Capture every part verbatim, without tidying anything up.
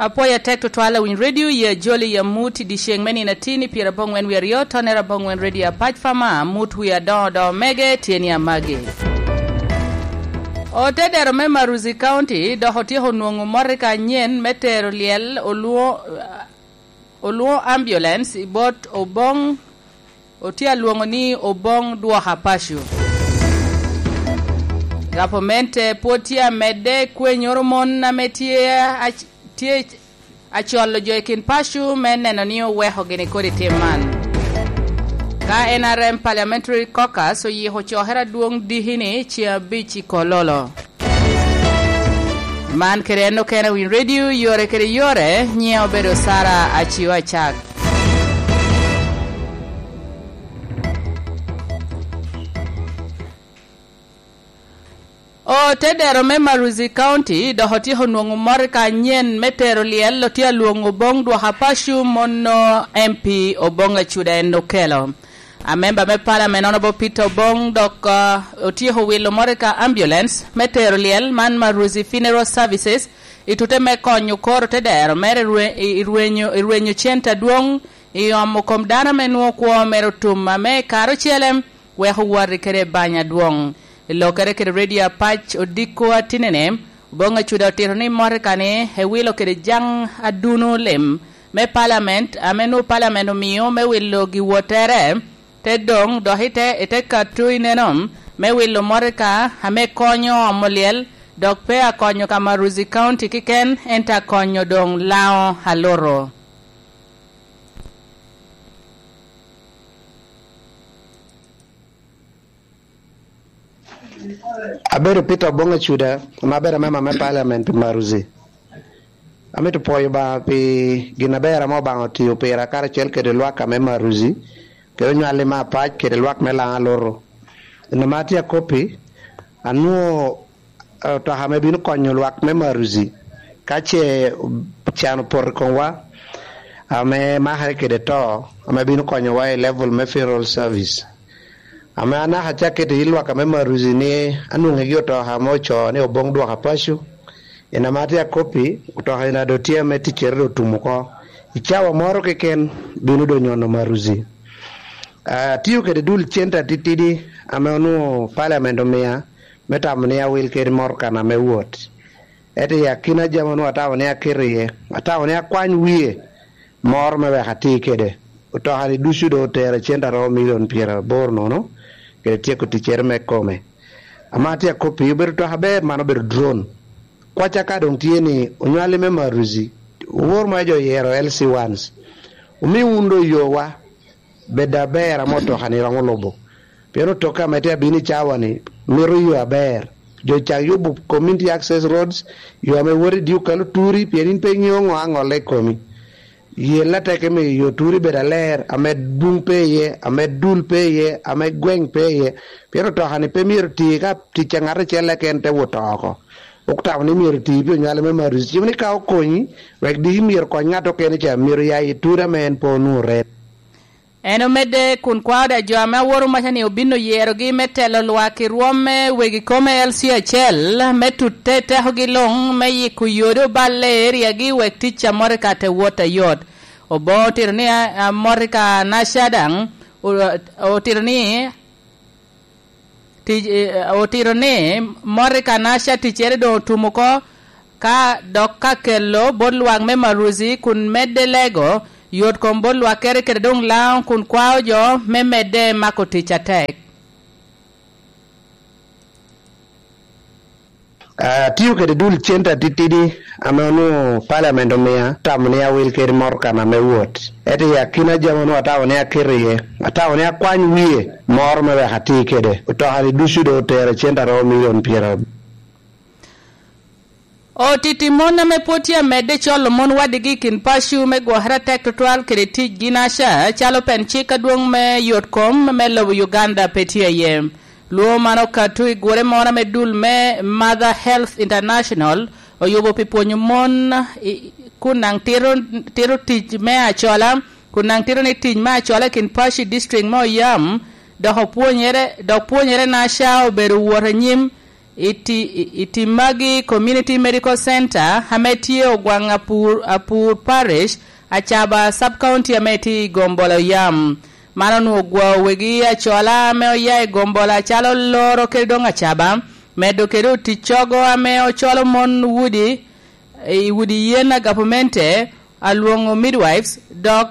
Apwoyo atek tutwal awiny redio i ajoli i amut i dyeceŋ me nino atin i pyeraboŋwen wie aryo, tonnere aboŋwen redio apac fama, amut wie adoŋo doŋo mege tye ni amagi. Otedero me Maruzi County dok otyeko nwoŋo motoka anyen me tero lyel olwoŋo, olwoŋo ambulance i bot Oboŋ, otye alwoŋo ni Oboŋ Dwoka Paco. Gavamente pwod tye amedde kwenyoro mon ame tye ac-, tye acolo jo i kin paco me neno ni oweko gini kodi tim man. Ka N R M Parliamentary Caucus oyiko cokere adwoŋ diki-ni ceŋ abic i Kololo. Man kede en okene Winy Radio, yore kede yore, nyiŋe obedo Sara Acio Acak. Otedero me Maruzi County dok otyeko nwoŋo motoka anyen me tero lyel, otye alwoŋo Oboŋ Dwoka Paco, mono M P Oboŋ Acuda en okelo. Amemba me Parliament Honorable Peter Oboŋ dok, ah, otyeko wilo motoka ambulance me tero lyel man Maruzi Funeral Services i tute me konyo koro otedero mere i rwe-, i rwenyo, i rwenyo center adwoŋ i omo kom dano ame nwoŋo kwo mere otum ame i kare ocele weko wati kede banya adwoŋ. I lokkere kede redio apac odiko atinene, Oboŋ Acuda otito ni motoka-ni ewilo kede jaŋ aduno lim me Parliament ame nwoŋo Parliament omio me wilo giwottere, te doŋ dok ite, ite kato ineno me wilo motoka ame konyo omo lyel, dok pe akonyo ka Maruzi County kiken, ento akonyo doŋ Laŋo alutu. Abedo Peter Oboŋ Acuda, ame abedo amemba me Parliament pi Maruzi. Amito pwoyo Obaŋa pi gin aber ame Obaŋa otio pira karacel kede lwak ame Maruzi, kede onywalli me apac kede lwak me Laŋo alutu. Nino ma atye akoppi, anwoŋo, eh, otoka ame bino konyo lwak me Maruzi ka ce can opoto i komwa, ame makere kede to, ame bino konyowa i level me funeral service. Ame anaka acak keto i lwak ame Maruzi ni anwoŋegi otoka ame ocoo ni Oboŋ Dwoka Paco, en ame atye akoppi, otoka ena doŋ tye ame ticcere doŋ otum oko. I cawa moro keken bino doŋ nyono Maruzi. Ah, atio kede dul cente atitidi ame onwoŋo Parliament omia me tamo ni awil kede motoka-na me wot. Ento i akina jami onwoŋo atamo ni aketo iye, atamo ni akwany wie moro me wek ati kede. Otoka-ni ducu doŋ otero cente aromo milion pyeraboro nono, kede tyeko ticcere me kome. Ame atye akoppi, obedo otoka aber, man obedo drone. Kwacca ka doŋ tye ni onywalli me Maruzi, owor ma jo oyero L C ones, omi wun doŋ yowa, bed aber ame otoka-ni romo lubo. Pien otoka ame tye abino i cawa-ni mito yo aber. Jo cak yubo community access roads, yo ame wot i Dyuka Luturi, pien in pe iŋeo ŋo aŋolle i komi. Yel atek me yo Turi bed aler, ame buŋ pe iye, ame dul pe iye, ame gweŋ pe iye. Pien otoka-ni pe myero ti ka tic a ŋat acel keken te wot oko. Otamo ni myero ti pi onywale me Maruzi. Cimo ni ka okonyi, wek diki myero kony ŋat okene ca, myero ya i Turi ame en pe onwoŋo ret. En omedde kun kwao da jo ame aworo maca ni obin oyerogi me telo lwak i rwom me wegi kome L C acel, me tutte tekogi luŋ, me yiko yodi oballe i eriagi wek tic a motoka te wot ayot. Oboŋo otito ni, a, a, motoka naca daŋ, o-, otito ni, tic, eh, otito ni motoka naca ticcere doŋ otum oko, ka dok ka kelo bot lwak me Maruzi kun medde lego yot kom bot lwakkere kede doŋ Laŋo kun kwao jo me medde mako tic atek. Atio kede dul cente atitidi ame onwoŋo Parliament omia, atamo ni awil kede motoka-na me wot. Ento i akina jami onwoŋo atamo ni aketo iye, atamo ni akwany wie moro me wek ati kede. Otoka-ni ducu doŋ otero cente aromo milion pyerabiro. Otiti mon ame pwod tye amedde colo mon wadigi i kin paco me gwokere atek tutwal kede ticgi naca, calo pen cik adwoŋ me yot kom me lobo Uganda pe tye iye. Lwongo man okato i gure moro ame dul me Mother Health International oyubo pi pwonyo mon i, kun daŋ tito, tito tic me acola, kun daŋ tito ni tic me acola i kin paco i district me Oyam, dok opwonyere, dok pwonyere naca obedo wot anyim I ti-, i, i Timagi Community Medical Center ame tye Ogwaŋ Apur, Apur Parish, Acaba Sub-County ame tye i Gombolo yam. Man onwoŋo ogwao wegi acola ame oya i Gombolo acalo Loro kede doŋ Acaba, medo kede oticcogo ame ocolo mon udi, i udi yen a gavamente, alwoŋo midwives, dok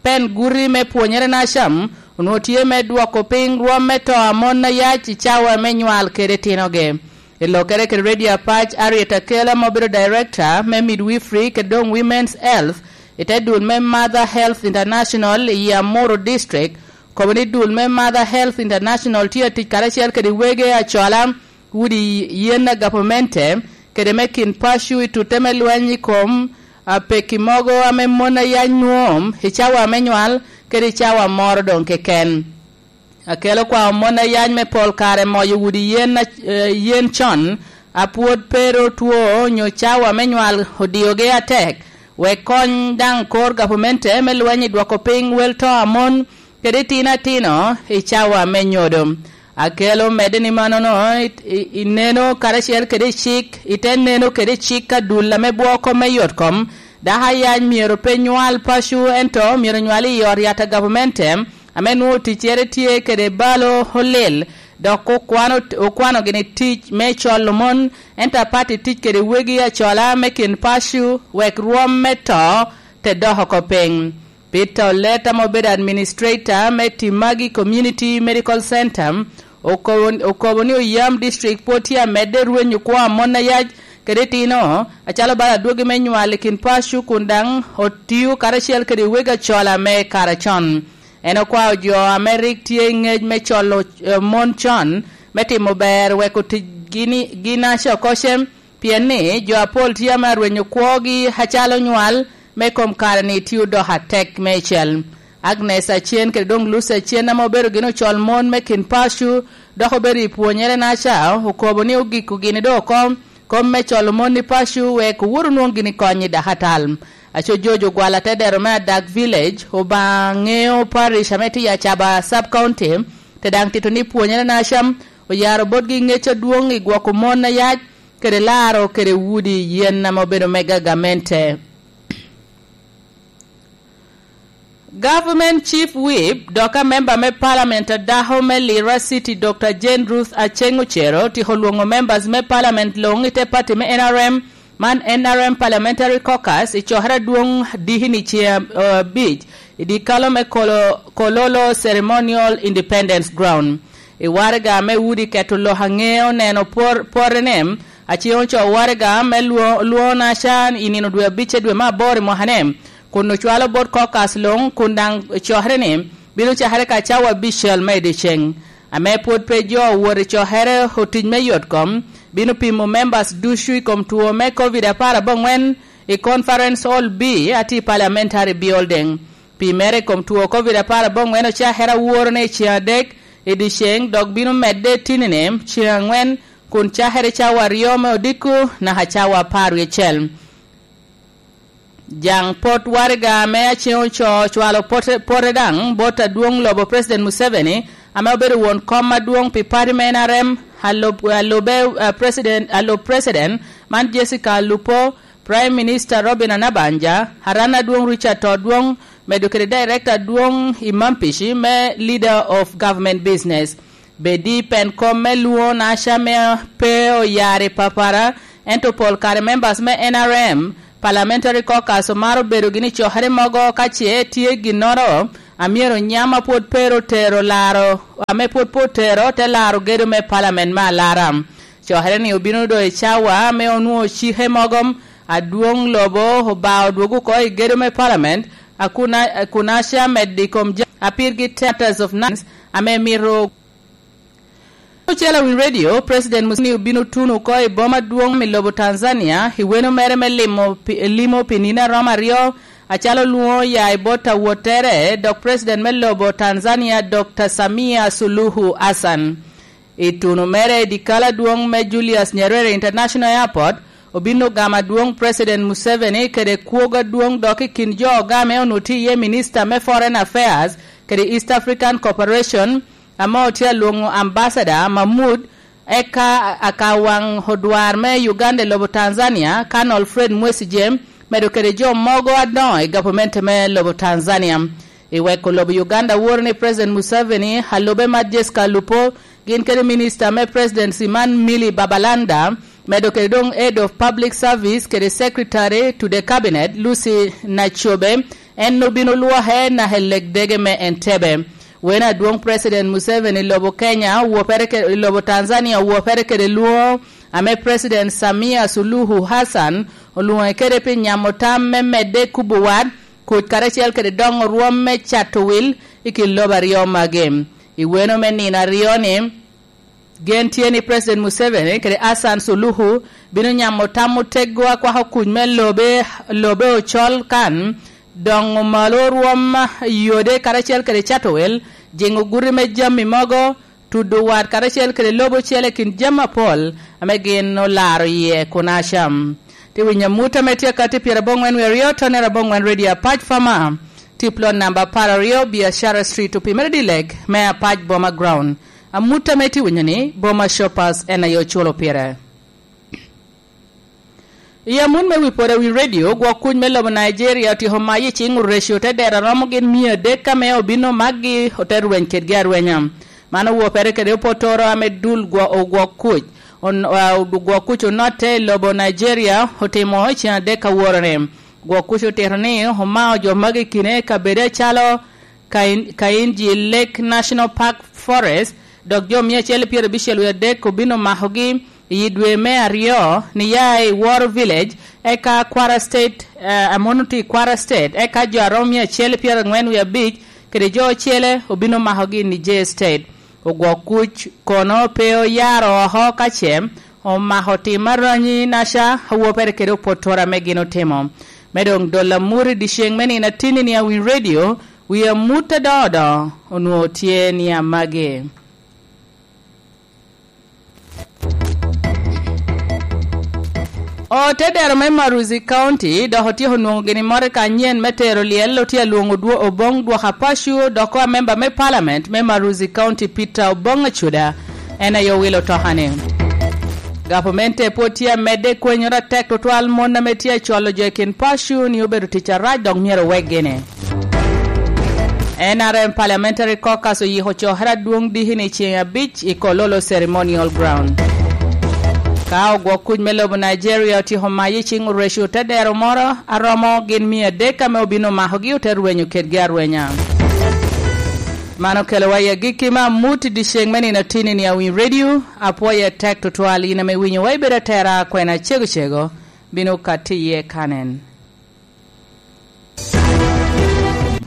pen guti me pwonyere na cam, onwoŋo tye me dwoko piny rwom me to a mon a yac i cawa me nywal kede tinogi. I lokkere kede Radio Apac, Harriet Akel ame obedo Director me Midwifery kede doŋ Women's Health i te dul me Mother Health International i Amuru District, kobo ni dul me Mother Health International tye atic karacel kede wege acola, udi yen a gavamente, kede me kin paco i tutte me lweny i kom, a, pekki mogo ame mon a yac nwoŋo i cawa me nywal kede i cawa moro doŋ keken. Akelo kwao mon a yac me pol kare moyo udi yen a, eh, yen con, a pwod pe ru two onyo cawa me nywal odiogi atek, wek kony daŋ kor gavamente me lweny i dwoko piny wel to a mon kede itino atino i cawa me nyodo. Akelo medde ni mannono, i, i, i neno karacel kede i cik, i te neno kede cik a dul ame bwoko me yot kom, dako a yac myero pe nywal paco, ento myero nywal i ot yat a gavamente, ame nwoŋo ticcere tye kede balo olil, dok okwano, okwano gini tic me colo mon, ento apat i tic kede wegi acola me kin paco, wek rwom me to te dok oko piny. Peter Oleta ma obedo administrator me Timagi Community Medical Center, okobo, okobo ni oyam district pwod tye amedde rwenyo kwo a mon a yac kede itino, acalo bala adwogi me nywal i kin paco kun daŋ otio karacel kede wegi acola me kare acon. En okwao jo ame rik tye i ngec me colo, eh, mon con me timo ber wek otic gini, ginaca oko cem, pien ni jo apol tye ame arwenyo kwogi acalo nywal me kom kare-ni tye odoko atek meicel. Agnes Acen kede doŋ Lucy Acen ame obedo gin ocol mon me kin paco, dok obedo i pwonyere naca, okobo ni ogiko gini doŋ oko kom me colo mon i paco wek owot onwoŋ gini kony i dakatal. Aco George Ogwal atedero me Adak Village, Obaŋa Ŋeo Parish ame tye i Acaba Sub County, te daŋ tito ni pwonyere naca oyaro botgi ŋec adwoŋ i gwoko mon a yac, kede laro kede udi yen ame obedo me gagamente. Government Chief Whip dok a member me Parliament a dako me Lira City, Doctor Jane Ruth Aceng Ocero, tiko lwoŋo members me Parliament luŋ i te party me N R M, man N R M Parliamentary Caucus, i cokere adwoŋ diki ni ce, eh, abic, i dikalo me Kolo-, Kololo Ceremonial Independence Ground. I waraga me udi keto lok aŋeo neno por-, porrene, Aceng ocoo waraga me lwo-, lwoŋo naca i nino dwe abic dwe me aboro i mwaka-ni, kun ocwalo bot caucus luŋ, kun daŋ cokere ni bino cakere ka cawa abicel me i dyeceŋ. Ame pwod pe jo owot i cokere otic me yot kom, bino pimo members ducu i kom two me covid apar aboŋwen i Conference Hall B, atye i Parliamentary Building. Pi mere i kom two covid apar aboŋwen ocakere aworo ni ceŋ adek i dyeceŋ, dok bino medde tinine ceŋ aŋwen, kun cakere cawa aryo me odiko naka cawa apar wie acel. Jaŋ pot waraga ame Aceng ocoo ocwalo pote, pote daŋ bot adwoŋ lobo President Museveni, ame obedo won kom adwoŋ pi party me N R M, alub, alube, eh, President, alub President man Jessica Alupo, Prime Minister Robina Nabbanja, Aran Adwoŋ Richard Todwong, medo kede Director Adwoŋ i Mampici me Leader of Government Business. Bedi pen kom me lwoŋo naca me pe oyar i papara, ento pol kare members me N R M Parliamentary Caucus omaro bedo gini cokere mogo ka ce tye ginnoro a myero nyam a pwod pe ru tero laro, ame pwod pe otero te laro gedo me Parliament me alara. Cokere ni obino doŋ i cawa ame onwoŋo cike mogo adwoŋ lobo obao odwogo oko i gedo me Parliament, a kun a, a kun aca medde i kom ja-, a pirgi Matters of Nines ame mito. Ocel Awiny Radio, President Museveni obino tuno oko i boma adwoŋ i lobo Tanzania, i weno mere me limo pi, limo pi nino a romo aryo, acalo lwoŋo ya i bot awottere, dok President me lobo Tanzania, Doctor Samia Suluhu Hassan. I tuno mere i dikal adwoŋ me Julius Nyerere International Airport, obino gamo adwoŋ President Museveni kede kwogo adwoŋ dok i kin jo ogame onwoŋo tye iye Minista me Foreign Affairs kede East African Cooperation, ame otye alwoŋo Ambassador Mahmoud Eka akawaŋ odwar me Uganda i lobo Tanzania, Colonel Fred Mwesigye, medo kede jo mogo adoŋo i gavamente me lobo Tanzania. I weko lobo Uganda woro ni President Museveni, alube Mat Jessica Alupo, gin kede Minista me Presidency man Milly Babalanda, medo kede doŋ Head of Public Service kede Secretary to the Cabinet, Lucy Nacobe, en obino lwoke naka i legdege me Entebbe. Wene adwoŋ President Museveni i lobo Kenya, owopere ke-, i lobo Tanzania, owopere kede lwoŋo ame President Samia Suluhu Hassan olwoŋe kede pi nyamo tam me medde kubo wat, kuc karacel kede doŋo rwom me cato wil i kin lobo aryo magi. I weno me nino aryo-ni, gen tye ni President Museveni kede Hassan Suluhu bino nyamo tam oteggo a kwako kuc me lobe, lobe ocol kan, doŋo malo rwom yode karacel kede cato wil, jiŋo guti me jami mogo, tudo wat karacel kede lobo ocele i kin jami apol ame gin olaro iye kun acam. Tye winyo amut ame tye akati pyeraboŋwen wie aryo, tonere aboŋwen Radio Apac Fama, tip lot namba apar aryo, Biashara Street, opimere Dilek me Apac Boma Ground. Amut ame tye winyo ni, Boma Shoppers en aye oculo pire. I amut me wi pwod awi redio, gwok kuc me lobo Nigeria otyeko mayo i ciŋ oreco te dero a romo gin mia adek ame obino makgi ote rweny kedgi arwenya. Man owopere kede opotoro ame dul gwo-, ogwok kuc, on-, a, ogwok kuc onotte i lobo Nigeria otimo i cen adek aworoni. Gwok kuc otito ni omao jo magi i kine i kabedo acalo Kain-, Kainji Lake National Park Forest, dok jo mia acel pyerabicel wie adek obino makogi i dwe me aryo ni ya i Woro Village, eka Kwara State, eh, amono tye i Kwara State, eka jo a romo mia acel pyerangwen wie abic kede jo ocele obino makogi i Niger State. Ogwok kuc kono pe oyaro oko ka ce omako tim aranyi naca awopere kede opotoro ame gin otimo. Me doŋ dolo amut i dyeceŋ me nino atinni ni Awiny Radio, wi amut adoŋo doŋo onwoŋo tye ni amagi. Otedero me Maruzi County dok otyeko nwoŋo gini motoka anyen me tero lyel, otye alwoŋo dwo-, Oboŋ Dwoka Pacu, dok ko amemba me Parliament me Maruzi County, Peter Oboŋ Acuda, en aye owilo otokani. Gavamente pwod tye amedde kwenyoro atek tutwal mon ame tye acwalo jo i kin Pacu ni obedo tic arac dok myero owek gini. N R M Parliamentary Caucus oyiko cokere adwoŋ diki ni ceŋ abic i Kololo Ceremonial Ground. Ka ogwok kuc me lobo Nigeria otyeko maye i ciŋ oreco te dero moro, aromo gin mia adek ame obino makogi ote rwenyo kedgi arwenya. Man okelowa i agikki me amut i dyeceŋ me nino atinni ni Awiny Radio. Apwoyo atek tutwal in ame winyowa ibedo atera kwena cegocego, bino katti iye kanen.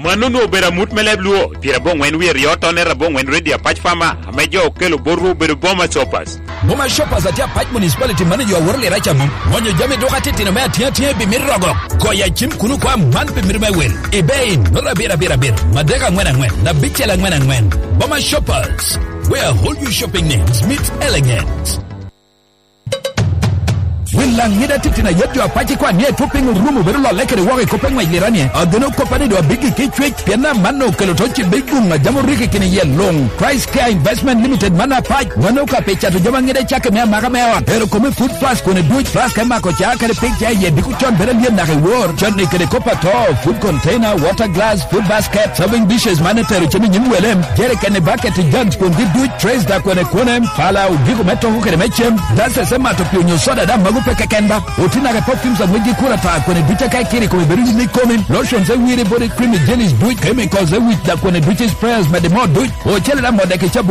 Mano onwoŋo obedo amut me leb Luo, pyeraboŋwen wie aryo tonere aboŋwen Radio Apac Fama, ame jo okelo botwu obedo Boma Shoppers. Boma Shoppers atye Apac Municipality Manager aworo lira ca mom. Ŋonyo jami duka titino me atiŋ atiŋa i pi mit rogo. Goyo acim kuno kwa man pi mit me wil. Ebay, noto abir abir abir, madek aŋwen aŋwen, abicel aŋwen aŋwen. Boma Shoppers, where all your shopping needs meet elegance. Wil laŋ ŋida titino a yet jo Apac ikwan ni Ethiopia orumo bedo lolle kede woko i kop me ŋwec lirani. Ageno koppa ni doŋ abiggi ki cwec, pien amanno okelo to cibbe i guŋ a jam oriki kine yie luŋ. Christ Care Investment Limited man Apac, wano ka pi cato jami aŋida i cakki me amaka me ot. Ero kome food flask kone duc, flask me mako ca kede pig ca iye diko con bedo alyet naka i wor, cotni kede kop ato, food container, water glass, food basket, serving dishes man etero cem i nyim wele, jerikeni, bucket, jugs, kwongi duc, trays da kwene kwone, pala, odiko me toko kede me cem, glasses me mato pi onyo soda da mago pe keken ba. Oti naka perfumes a ŋwejgi kura ta kwene duc aka ikiri kome bedo yin ikomi, lotions e wiri body cream i jellies duc, chemicals e wic da kwene duc i sprayers mede mo duc, ocele da mo dek i cabun.